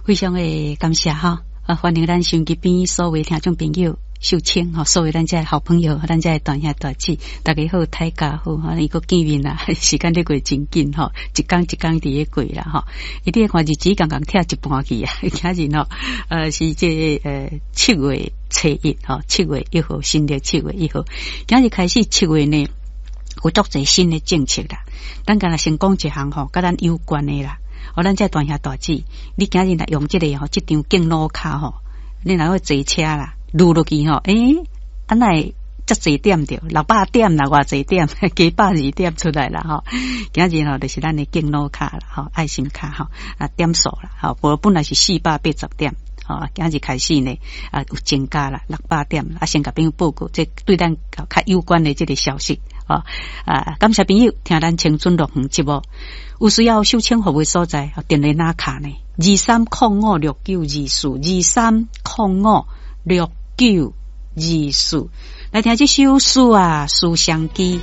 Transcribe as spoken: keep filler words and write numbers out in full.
非常的感謝吼，啊，歡迎咱收音機邊所有聽眾朋友。秀清吼，所有咱遮的好朋友，咱遮的大兄大姊，大家好，大家好，吼，伊閣見面啦，時間咧過真緊吼，一工一工佇咧過啦吼。伊你看日子剛剛拆一半去啊，今日吼，呃，是這個呃七月初一吼，七月一號，新曆七月一號，今日開始七月呢，有足濟新的政策啦。咱敢若先講一項吼，佮咱有關的啦。哦，咱遮大兄大姊，你今日若用這個吼，這張敬老卡吼，你若欲坐車啦。擼落去吼，欸，啊哪會遮濟點著，六百點啦，偌濟點，加百二點出來啦吼。今日吼就是咱的敬老卡啦，吼，愛心卡吼，啊點數啦，吼，無本來是四百八十點，吼，今日開始呢，啊有增加啦，六百點，啊先共朋友報告，這對咱較有關的這個消息，吼，啊感謝朋友聽咱青春樂園節目，有需要秀清服務所在，電話哪敲呢？二三空五六九二四，二三空五六九二四，來聽這首詩啊，思相機。